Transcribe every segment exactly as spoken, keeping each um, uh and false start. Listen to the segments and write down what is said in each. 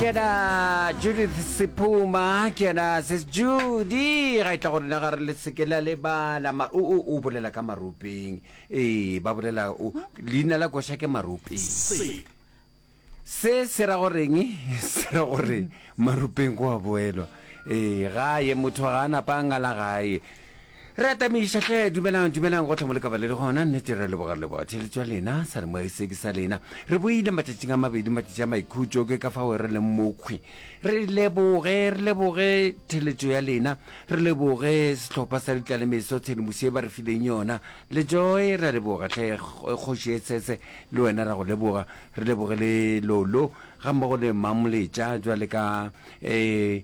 Ke yena Judith Sephuma, ke yena Sis Judy. Ga e tla go rena ga re le seke la lebala. Ma, o, o, o bolela ka maropeng. Ee, ba bolela, o, leina la koša ke Maropeng. Se. Se se ra goreng? Se ra gore maropeng go a boelwa. Ee, gae, motho ga a napa a ngala gae. Re atamiša hle, dumelang, dumelang gohle mo le ka ba le le gona. Nnete re a leboga, re leboga theeletšo ya lena, sa re moya se ke sa lena. Re boile matšatšing a mabedi, matšatši a maikhutšo, ke ka fao re leng mokhwi. Re leboge, re leboge theeletšo ya lena, re leboge sehlopha sa Ditlalemeso, tshedimošo ye ba re fileng yona. Le Joy, re a leboga hle, Kgoši e Tshetse, le wena ra go leboga. Re leboge le Lolo, gammogo le Mamoletša, bjale ka, eh,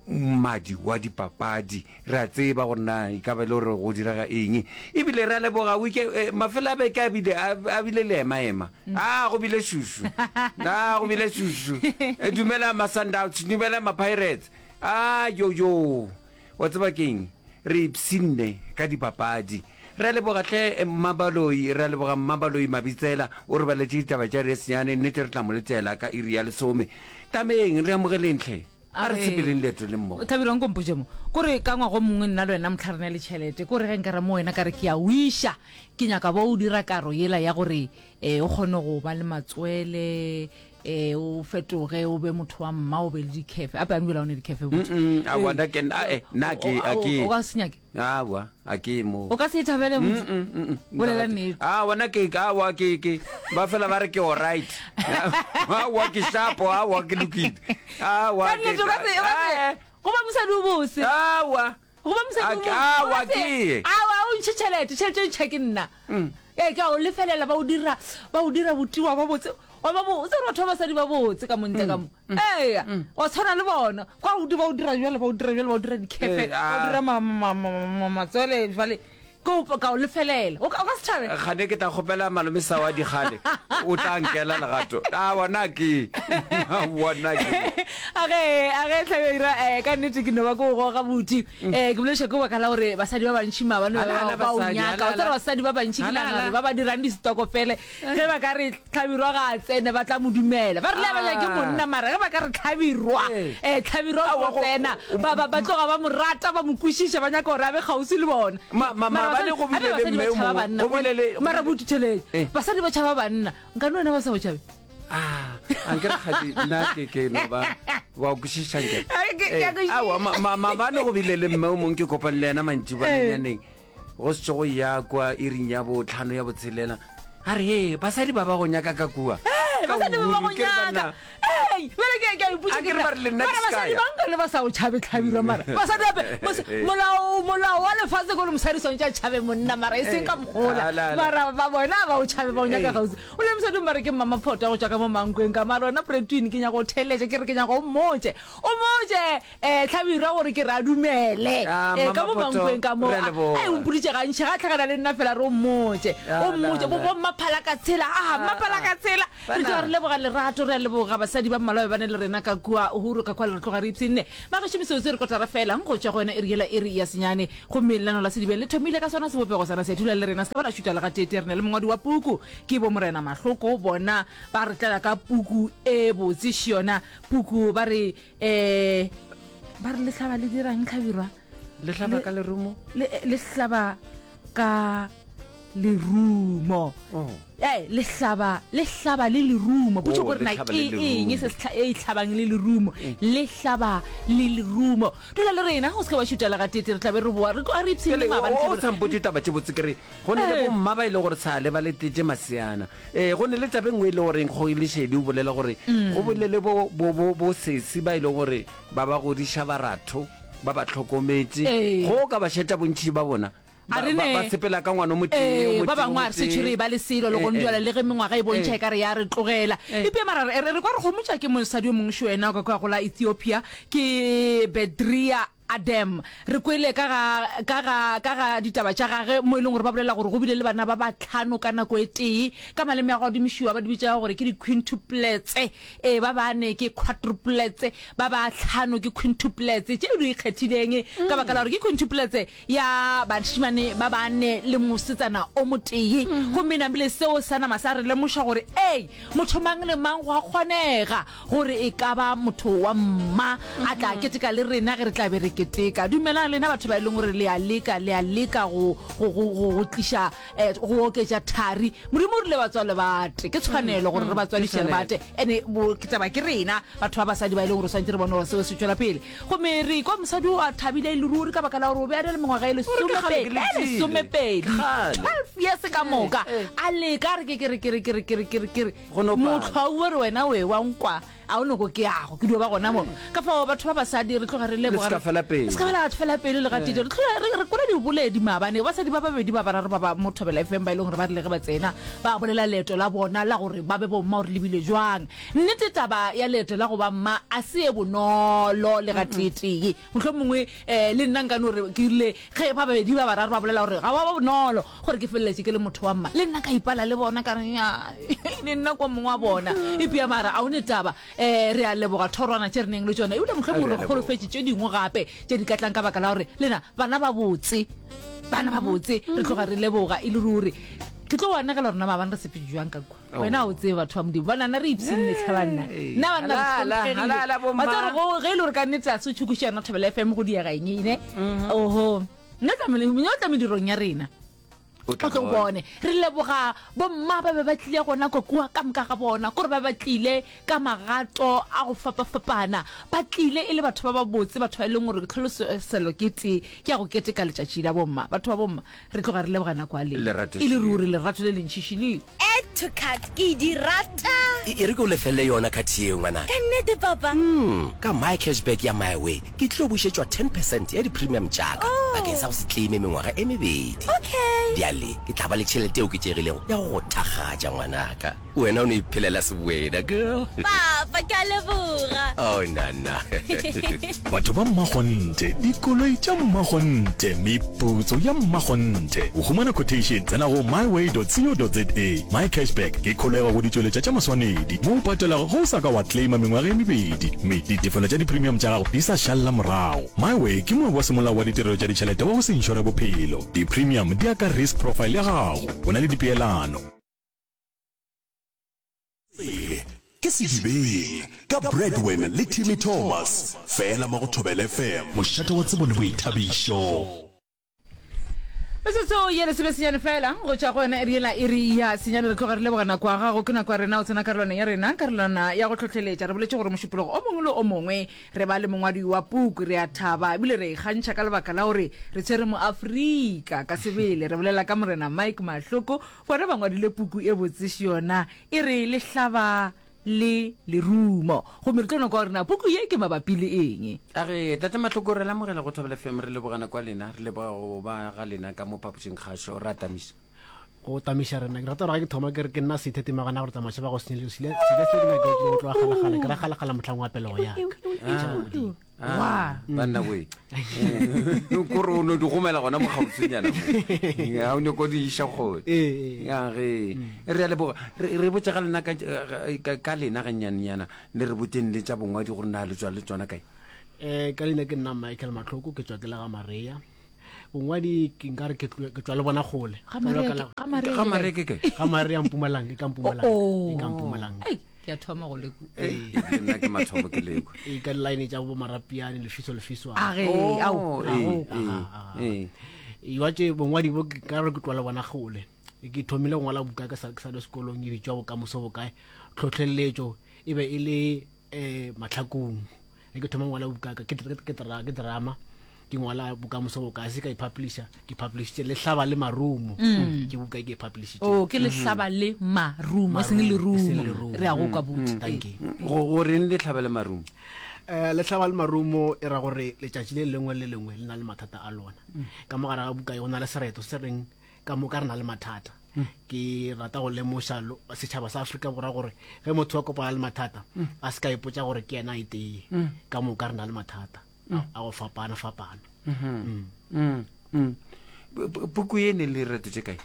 mmadi wa dipapadi. Re a tseba gore na e ka ba e le gore go direga eng. Ebile re a leboga wike, eh, mafelo a beke a bile, a, a bile leema-ema. A go bile šušu. A go bile šušu. Eh, dumela ma-Sundowns, dumela ma-Pirates. A yo yo. Wa tseba keng? Re ipshinne ka dipapadi. Re a leboga hle Mmabaloi, re a leboga Mmabaloi Mabitsela, o re baletše ditaba tša iri ya senyane, nnete re tla mo letela ka iri ya lesome. Tameng, re amogeleng hle. A re sepeleng leeto le mmogo. Thabile, nko mpotše mo. Ko re ka ngwaga o mongwe nna le wena mohla re na le tšhelete, ko re ge nka re mo wena ka re ke a o iša, ke nyaka bo o dira karo yela ya gore um o kgone go ba le matswele, um o fetoge o be motho wa mma, o be le dikhefe. Ape a nbjela o ne dikhefe botse. Mm-mm, aowa, nna ke, a, eh, nna ke, a ke. O ka se nyake? Aowa, a ke mo. O ka se e thabele botse? Mm, mm, mm. Bolela nnete. Aowa, nna ke, aowa, ke, ke, ba fela ba re ke alright. Aowa, ke sharp, aowa, ke lokile. Aowa, Ka nnete, o ka se, o ka se, Eh, go ba mosadi o bose. Aowa. Go ba mosadi A o ke- bose. O aowa, ka se, ke ye. Aowa, o ntšhe tšhelete, tšhelete o ntšha ke nna. Ee, ke a o lefelela, ba o dira, ba o dira botiwa ba botse. Wa ba botse gore batho ba basadi ba botse ka montle ka mo. Eya, wa tshwana le bona. Kwa o ba o dira jwale, ba o dira jwale, ba o dira dikhefe, ba o dira ma, ma, ma, ma, matswele jwale. Ke o, ka o lefelela. O ka, o ka se thabe? Kgane ke tla kgopela malome sa wa dikgale, o tla nkela legato. A bona ke, bona ke. A ge, a ge Hlabirwa, eh, ka nnete ke no ba ke o goga buti. Eh, ke bolediša ke baka la gore basadi ba bantši maabane ba, Ala, ala, ba o basadi, nyaka. ala, Wa tseba ala. basadi ba bantši ke Ala, nagana ala. gore ba ba dirang distokofele, ge ba ka re Hlabirwa ga a tsene ba tla mo dumela. Ba re le a ba nyake monna mara ge ba ka re Hlabirwa, Ee. eh, Hlabirwa o Aowa, tlo go- tsena, ba, ba, ba tloga ba mo rata, ba mo kwešiša, ba nyaka gore a be kgauswi le bona. Ma- ma- Mara maabane basadi- go bile gape le basadi ba mme o tšhaba mongwe, banna. go bile le- Mara bothutheletše. Eh. Basadi ba tšhaba banna. Nkane wena ba sa go tšhabe? Ah, anke re kgadi nna ke ke no ba wa kwešiša nke. Ai, ke- ke a Eh, kwešiša. aowa, ma- ma- maabane go bile le mme o mongwe ke kopane le yena mantšiboanyaneng. Go se go ya kwa iring ya botlhano ya botshelela. A re, Hee, basadi ba ba go nyaka ka kua. Ee, Ka basadi ba ba go uhuru, ke re nyaka. banna. Ee, bjale ke, ke a ipotša A ke ke re re, ba re le nna mara ke se ka basadi ya. ba nka le ba sa o tšhabe hlabirwa mara. Basadi gape, mos-, molao, molao wa lefase ke gore mosadi swantše a tšhabe monna mara e seng ka mokgola. Ala, ala. Mara ba bona ba o tšhabe ba o nyaka Ee. kgauswi. O le mosadi mara ke mmamaphoto go tšwa ka mo Mankweng ka mara wena Pretwin ke nyaka go theeletša ke re ke nyaka o mmotše. O mmotše eh Hlabirwa gore ke re a dumele. Ah, Eh, ka mo Mmamaphoto, Mankweng ka mo. re a leboga. Ai, o mpoditše gantši ga a hlakana le nna fela re o mmotše. Ah, O mmotše, la, bo la. bo mmaphala ka tshela. Ah, mmaphala ka tshela. Re tloga re leboga lerato, re a leboga basadi ba mmalwa ba ba ne le rena ka kua Uhuru ka kua le re tloga re ipshinne. Magešo metsotso e re kotara fela go tšwa go yona iri yela iri ya senyane. Gomme lenaneo la Sedibeng le thomile ka sona sebopego sana se dula le rena se ka ba la šuta le gateetee. Re na le mongwadi wa puku ke bo Morena Mahloko bona ba re tlela ka puku e botse še yona puku ba re eh ba re le hlaba le dirang Hlabirwa? Le hlaba ka lerumo? Le, le hlaba ka lerumo. Oh. Eh, le hlaba, le hlaba le lerumo. Potšo Oh, gore le na hlaba ke le eng lerumo. se se e hlabang le lerumo. Le hlaba le lerumo. Dula le rena, o se ke wa šuta le gatete, re tla be re boa. Re tloga re ipshinne Pele, maabane o Hlabirwa. sa mpotše taba tše botse ke re go ne le Eh. bomma ba e le gore sa le ba letetše maseana. Eh, go ne le taba e nngwe e le goreng Kgogi Lešedi o bolela gore go bolele bo, bo, bo, bo sesi ba e le gore ba ba godiša baratho, ba ba hlokometše. Eh. Go ka ba šetša bontši ba bona. A Ba, re ba, ne. ba sepela ka ngwana o motee, o Ee, ba motee, o bangwe a re motee. setšhwe re e ba le selo le Eh, gone eh. jwale le ge mengwaga e bontšha Eh. e ka re ya re tlogela. Eh. Eupša mara re, re, re kwa re gomotša ke mosadi yo mongwe šo yena ka kwa go la Ethiopia, ke Bedria Adam. Re kwele ka ga, ka ga, ka ga ditaba tša gage mo e leng gore ba bolela gore go bile le bana ba batlhano ka nako e tee. Ka maleme a go adimišiwa ba di bitša gore ke di-quintuplets, ee, ba bane ke quadruplets, ba bahlano ke quintuplets, tše di ikgethileng ka baka la gore ke quintuplets ya bašemane ba bane le mosetsana o motee. Gomme namile seo sa nama sa re lemoša gore, ee, motho mang le mang go a kgonega gore e ka ba motho wa mma a tla keteka le rena ge re tla be re keteka. Dumelang lena batho ba e leng gore le a leka, le a leka go, go, go, go, go tliša, eh, go oketša thari. Modimo o rile batswale ba ate. Ke tshwanelo gore re ba tswadiše re ba ate. Ene bo, ke taba ke rena batho ba basadi ba e leng gore swanetše re bone gore seo se tšwela pele. Gomme re kwa mosadi o a thabile e le ruri ka baka la gore o be a na le mengwaga e Gore ke kgale ke lesomepedi, e letile. lesomepedi, Kgale. twelve years ka moka. A leka a re ke, ke re, ke re, ke re, ke re, ke re, ke re. Go no pala. Mohlwa o re wena o e wa nkwa, a o noko ke yago, ke dio ba gona mo. Ka fao batho ba basadi re tloga re leboga. Le se ka fela pelo. Le se ka fela fela pelo le gatee. Re tloga re, re kwele diboledi maabane, basadi ba babedi ba bararo ba ba mo Thobela F M ba e leng gore ba rile ge ba tsena, ba bolela leeto la bona la gore ba be bomma gore le bile jwang. Nnete taba ya leeto la go ba mma a se e bonolo le gateetee. Mohlomongwe, eh, le nna nka no re ke rile ge ba babedi ba bararo ba bolela gore ga wa ba bonolo gore ke feleletše ke le motho wa mma, le nna ka ipala le bona ka re ya, le nna kwa mongwe wa bona. Epia mara a o ne taba. Eh, re a leboga thorwana tše re neng le tšona, ebile mohlomongwe re Re a leboga. kgolofetše tše dingwe gape tše di ka tlang ka baka la gore lena bana ba botse, bana ba botse, re tloga re leboga e le ruri. Ke tlo anegela rona maabane re sepetse jwang ka kwa. Oh. Wena o tsebe batho ba Modimo, banana re ipshinne tlhe banna. Hey. Nna banna re Halala, hlomphegile. halala bomma. Wa tseba gore go, ge e le gore ka nnete a se tšhokoše yona Thobela F M go diega eng ene? Oho. Nna tla mele-, nna o tla medirong ya rena. O tla O tlo bona. bone. Re leboga bomma ba be ba tlile gona ko kua ka moka ga bona, kore ba ba tlile ka magato a go fapafapana, ba tlile e le batho ba ba botse, batho ba e leng gore tlholoselo ke tee, ke ya go keteka letšatši la bomma. Batho ba bomma, re tloga re leboga nako ya lena. Lerato E le šele. ruri lerato le lentšiši le. Add to cart, ke di rata. E, e re ke o lefelle yona card yeo, ngwanaka. Ka nnete, papa? Mm, ka My Cashback ya MyWay, ke tlo bušetšwa ten percent ya di-premium tša ka Oh. bakeng sa go se claime mengwaga e mebedi. Okay. Bjale ke tla ba le tšhelete e oketšegilego ya go go thakgatša, ngwanaka. Wena o no iphelela sewena, girl. Papa, ke a leboga. Oh, nana. Batho ba mmakgonthe, dikoloi tša mmakgonthe, meputso ya mmakgonthe. Go humana quotation, tsena go myway dot co dot za. My Cashback ke kholego go ditšweletša tša maswanedi mo o patelago ge o sa ka wa claima mengwaga e mebedi, mme ditefelo tša di-premium tša gago di sa šalla morago. MyWay ke moabi wa semolao wa ditirelo tša ditšhelete wa go se inšore bophelo. Di-premium di ya ka risk profile ya gago. Go na le dipeelano. Pele ke Sedibeng ka Bradwin le Timmy Thomas, fela mo go Thobela F M. Mošate wa tsebo le boithabišo. Metsotso ye lesome senyane fela go tšwa go yona iri yela iri ya senyane. Re tloga re leboga nako ya gago, ke nako ya rena o tsena karolwana ya rena, karolwana ya go hlohleletša. Re boletše gore mošupologo o mongwe le o mongwe re ba le mongwadi wa puku, re a thaba ebile re ikgantšha ka lebaka la gore re tshwere mo Afrika ka sebele. Re bolela ka morena Mike Mahloko, bona ba ngwadile puku e botse yona e re Lehlaba le Lerumo. Gomme re tlo no kwa gore na puku ye ke mabapi le eng. A re Tate Mahloko, re lamogela go Thobela F M, re leboga nako ya lena, re leboga go ba ga lena ka mo phapošing kgašo. Re a tamiša. Go tamiša rena. Ke rata gore ga ke thoma ke re ke nna seitheti magana gore tsamaiša ba go senyele sile, sile se ke nyaka go tloga kgalekgale, ke ra kgalekgale mohlang wa pelego ya ka. Ah. Ah, Wa. banna we. Kore o no di gomela gona mo kgauswinyana mo. Ya, o nyako di iša kgole. Ee, ee. Ya, ge. Re a leboga. Re, re botše ga lena ka, ka, ka lena gannyane-nyana, le re boteng le tša bongwadi gore na le tswa le tsona kae? Eh, ka leina ke nna Michael Mahloko, ke tswa ke le ga Maria. Bongwadi ke nka re ke tlo-, ke tswa le bona kgole. Ga Maria Ka ke- la- ga Maria Ga ke Maria kae? ke kae? Ga Maria Mpumalanga, ke ka Mpumalanga. Oh, oh. Ke ka Mpumalanga. Ei, ke a thoma go lekwa. Ei, ebile nna ke mathomo ke lekwa. Ee, ka di-line tša bo Marapiane, Lefiso, Lefiso. A ge, Oh, ao, ee, ao. ee, ee. Ee, wa tše bongwadi bo ke ka re ke tloa le bona kgole. Ke thomile go ngwala buka ke sa, ke sa le sekolong, e bitswa Bokamoso Bokae. Tlhotlheletšo e be e le, eh, Mahlakong. Ge ke thoma go ngwala buka ka, ke, ke, ke dra-, ke drama. Ke ngwala Bokamoso Bokae, se ka e publisha, ke publishitše Lehlaba le Marumo. Mm. Ke buka e ke e publishitše. Oh, ke Lehlaba le Marumo, e seng Marumo, e seng lerumo. lerumo. Re a go kwa buti. Mm. Thank you. Go, go reng Lehlaba le Marumo? Eh, Lehlaba le Marumo e ra gore letšatši le lengwe le lengwe le na le mathata a lona. Ka mo gare ga buka e go na le sereto se reng ka moka re na le mathata. Ke rata go lemoša lo-, setšhaba sa Afrika Borwa gore ge motho a kopana le mathata, a se ka ipotša gore ke yena a iteye. Ka moka re na le mathata. a go fapana fapana. Mm. Mm. Mm. Puku ye ne le reto tše kae?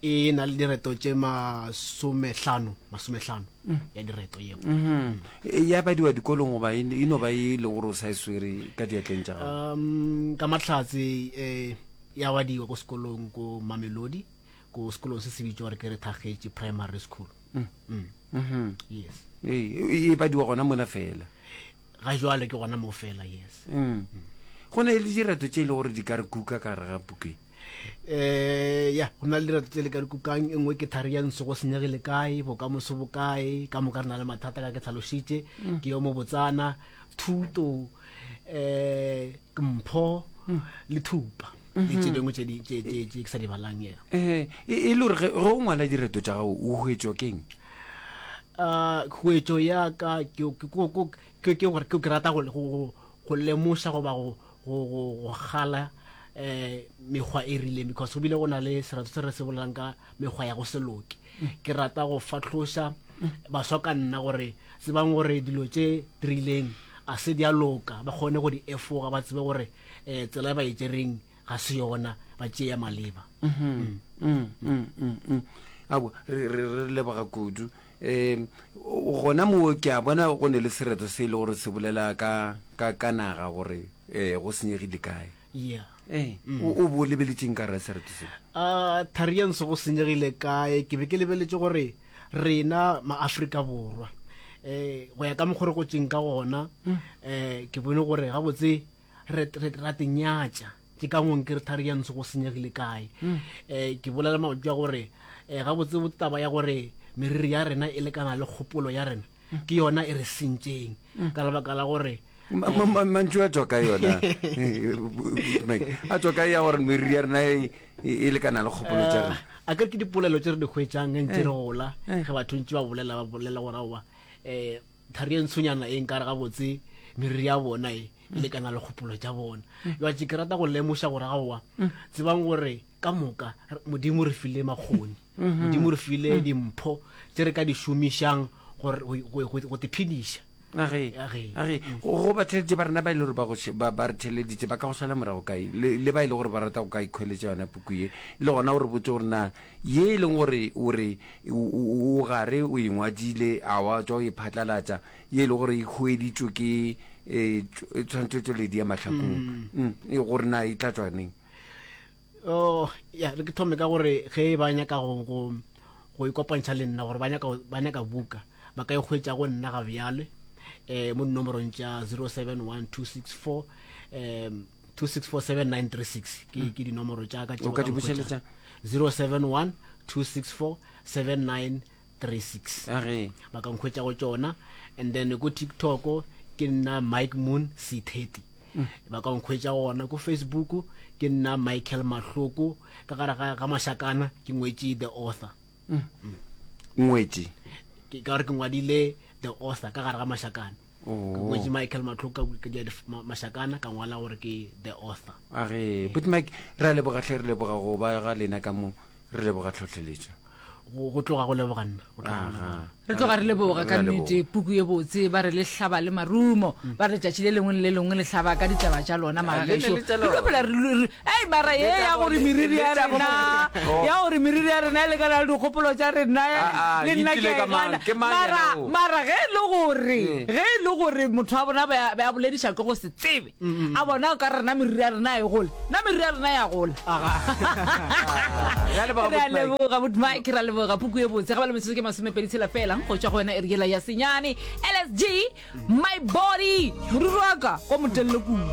E na le direto tše masomehlano, masomehlano mm. ya direto yeo. Mm -hmm. Ya badiwa dikolong goba e no ba e le gore o sa e swere ka diatleng tša gago? Um, ka mahlatse eh, ya badiwa ko sekolong ko Mamelodi, ko sekolong se se bitšwa gore ke re Thagetše Primary School. Mm. Mm. Mm -hmm. Yes. E, e badiwa gona mola fela? Ga jwale ke gona mo fela, yes. Mm. Go na le direto tše e le gore di ka re kuka ka gare ga puku e? Eh, ya, go na le direto tše le ka re kukang. E nngwe ke thari ya ntsho, go senyegile kae, bokamoso bo kae, ka moka re na le mathata ka ke tlhalošitše, Mm. ke yo mobotsana, thuto, eh, ke mpho, Mm. le thupa, le Mhm. tše dingwe tše di, tše, tše, tše ke sa di balang, ya. Eh, e, e le gore ge ge o ngwala direto tša gago o hwetšwa keng? Uh, khuetšo ya ka ke, ke, ke, ke, ke, ke gore ke, ke rata go, go, go lemoša goba go, go, go, go gala, eh, mekgwa e rileng, because go bile go na le serato se re se bolelang ka mekgwa ya go se loke. Mm. Ke rata go fahloša baswa ka nna gore tsebang gore dilo tše di rileng a se di a loka, ba kgone go di efoga, ba tsebe gore, eh, tsela e ba e tšereng ga se yona, ba tšee ya maleba. Mm-hmm. Mm, mm, mm, mm. Aowa, re, re, re leboga kudu. Um, gona moo ke a bona go ne le sereto se e le gore se bolela ka, ka, ka naga gore, eh, go senyegile kae. Yeah. Eh, Mm. o, o bo lebeletšeng ka gare sereto se? Ah, thari ya ntsho go senyegile kae, ke be ke lebeletše gore rena ma-Afrika Borwa, eh, go ya ka mokgwa re gotšeng ka gona, Mm. eh, ke bone gore gabotse re, re, ra tenyatša. Ke ka ngwe ke re thari ya ntsho go senyegile kae. Mm. Eh, ke bolela mantšu a gore, eh, gabotse taba ya gore meriri ya rena e lekana le kgopolo ya rena, Mm. ke yona e re sentšeng. Mm. Ka lebaka la gore, Ma-, ma-, ma-, mantšu a tswa ka yona. Mike, a tswa ka ya gore meriri ya rena e, e, e lekana le kgopolo tša rena. Eh, a ke re ke dipolelo tše re di hwetšang ge ntše re Eh. gola, Eh. ge batho ntše ba bolela, ba bolela gore aowa, eh, thari e ntshonyana e nkare gabotse meriri ya bona e, e lekana le kgopolo tša bona. Mm. Jwale ke rata go lemoša gore aowa, Mm. tsebang gore ka moka Modimo re file makgoni, Mhm. Modimo re file Mm. dimpho tše re ka di šomišang gore go, go, go, go te phediša. Age, Age. age, go ba theleditše ba rena ba e le gore ba go she-, ba, ba re theleditše, ba ka go šala morago kae? Le, le ba e le gore ba rata go ka ikhweletša yona puku ye, le gona o re botse gore na ye e leng gore o re o, o, o gare o e ngwadile, a wa tswa o e phatlalatša, ye e le gore e hweditšwe ke, eh, tšw-, tshwantšhetšoledi ya Mahlakong. Mm. Mm, e gore na e tla tswa neng? Oh, ya, re ke thome ka gore ge ba nyaka go, go, go ikopantšha le nna, gore ba nyaka, ba nyaka buka, ba ka e hwetša go nna ga bjale, eh, mo dinomorong tša zero seven one two six four, em, two six four seven nine three six. Ke, Mm. ke dinomoro tša ka tše O ka ba di ka nkhwetša. bušeletša? zero seven one two six four seven nine three six. Age. Ba ka nkhwetša go tšona. And then ko TikTok ke nna Mike Moon C thirty. Mm. Ba ka nkhwetša gona. Ko Facebook ke nna Michael Mahloko, ka gare ga, ga Mashakana ke ngwetše the author. Mm. Mm. Ngwetše? Ke ka gore ke ngwadile the author ka gare ga Mashakana. Oh. Ke ngwetše Michael Mahloko ka, ka dia dif-, ma-, Mashakana, ka ngwala gore ke the author. Age, but Mike, re a leboga hle, re leboga go ba ga lena ka mo, re leboga tlhohleletšo. Go, go tloga go leboga nna, go tloga go leboga Aha. nna. Re tloga re leboga ka Re a nnete, leboga. puku ye botse, ba re le hlaba le marumo, ba re tšatši le lengwe le le lengwe le hlaba ka ditaba tša lona, Ah, magagešo. le ne le tša Re tlo lona. phela re lu-, re, ei, mara ye Le tša ya gore bo- meriri le ya tša bo- rena, Oh. ya gore meriri ya rena e lekana le dikgopolo tša rena, Ah, ah, le nna e tlile ke a ka e mang? gana. Ke mang Mara, yena o? mara ge e le gore, Eh. ge e le gore motho wa bona ba, ba bolediša ke go se tsebe, Mm, mm. a bona o ka re rena meriri ya rena e gole, nna meriri ya rena ya gola. Re a leboga, Re a Buti Mike. leboga, Buti Mike, re a leboga. Puku ye botse, ga ba le metsotso ke masomepedi tshela fela, go tšwa go wena e re yela ya senyane. L S G, my body, moriri wa ka, o motelele kudu.